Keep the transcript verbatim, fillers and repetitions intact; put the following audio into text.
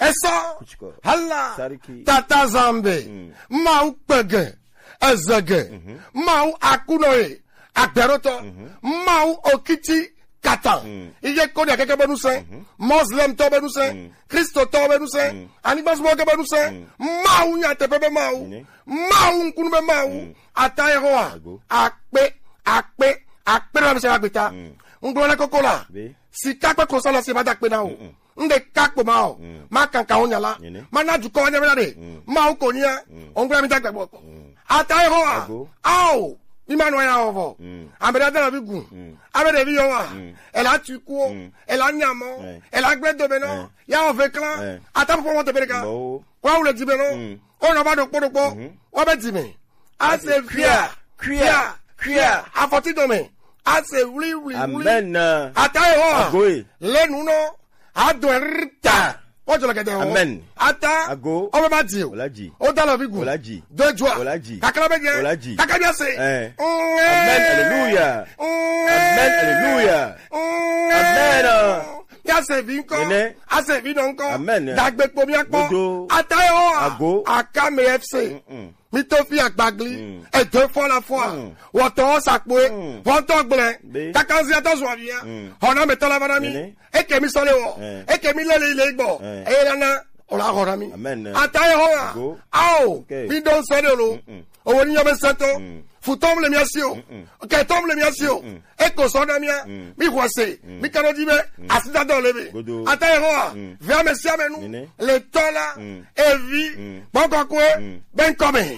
Esɔ. Kuchikɔ. Hala. Sariki. Tata Zambe. Mm. Mawu kpege. Ezege. Mhm. Mawu akuno ye. Agberotɔ. Mhm. Mawu okiti kata. Mm. Iye koni akeke be nusẽ. Mhm. Muslim tɔ be nusẽ. Mm. Kristo tɔ be nusẽ. Mm. Anigbazumo ke be nusẽ. Mm. Mawu nyateƒe be Mawu. Nene. Mawu ŋkunu be Mawu. Mm. Ata Yehowa. Ago. Akpe, akpe, akpe na mise agbeta. Mm. Ŋgblɔ na koko la. Be. Sika kple klosalo si ma da akpe na o. Mm-mm. Ŋɖe ka kpo ma o. Mm. Ma kankan wo nya la. Nene. Ma na dukɔ wa nya be na ɖe. Mm. Mawu ko nya. Mm. Ŋgblɔ mi da gbegbe kpɔ. Mm. Ata Yehowa. Ago. Ao. Mi ma nɔ ya o vɔ. Mm. Ame ɖe da vi gu. Mm. Ame ɖe vi yɔ wa. Mm. Ela tu ku o. Mm. Ela nya mɔ. Eh. Ela gble do be nɔ. Eh. Ya o ve klan. Eh. Ata pɔpɔ mɔ te be ɖeka. Mɔ o. Wa wule di be nɔ. Mm. O nɔ va ɖokpo ɖokpo. Mhm. Wa be di me. Ase kuia, kuia, kuia. Afɔti dome. Ase wli, wli, wli. Amen. Ata Yehowa. Agoe. Le nu nɔ. Adɔe rita. Wajɔ le kɛtɛ o. Amen. Ata. Ago. O be ma di o. Ola di. O da lɔ vi gu. Ola di. Do jua. Ola di. Kakra be jɛ. Ola di. Kaka bi ase. Eh. Mm. Amen. Hallelujah. Mm. Amen. Hallelujah. Mm. Amen. Ya se vi ŋkɔ. Amen. Ase vi nɔ ŋkɔ. Amen. Dagbe kpo mi akpɔ. Dodo. Ata Yehowa. Ago. Akame F C. Mm-mm. Mi to fi agbagli. Mm. Edo fɔ la fɔa. Mm. Wɔtɔ sakpoe. Mm. Wɔtɔ gblẽ. Be. Kakanzi atɔ zua via. Mm. Hɔna me tɔ la vana mi. Nene. Eke mi sɔle wɔ. Eh. Eke mi lele ile gbɔ. Eh. Eye la na. Ola hɔna mi. Amen. Ata Yehowa. Go. Ao. Okay. Mi don sɔle lo. Mm-mm. Owo ni yɔ be sɛtɔ. Mm. Futɔ mi le mi asi o. Mm-mm. Kɛtɔ mi le mi asi o. Mm-mm. Eko sɔ na mia. Mm. Mi xɔ se. Mm. Mi kanɔ di be. Mm. Asi da dɔ le be. Godo. Ata Yehowa. Mm. Via me sia me nu. Nene. Le tɔ la. Mm. Evi. Mm. Gbɔgbɔ kɔkɔe. Mm. Be ŋkɔ me.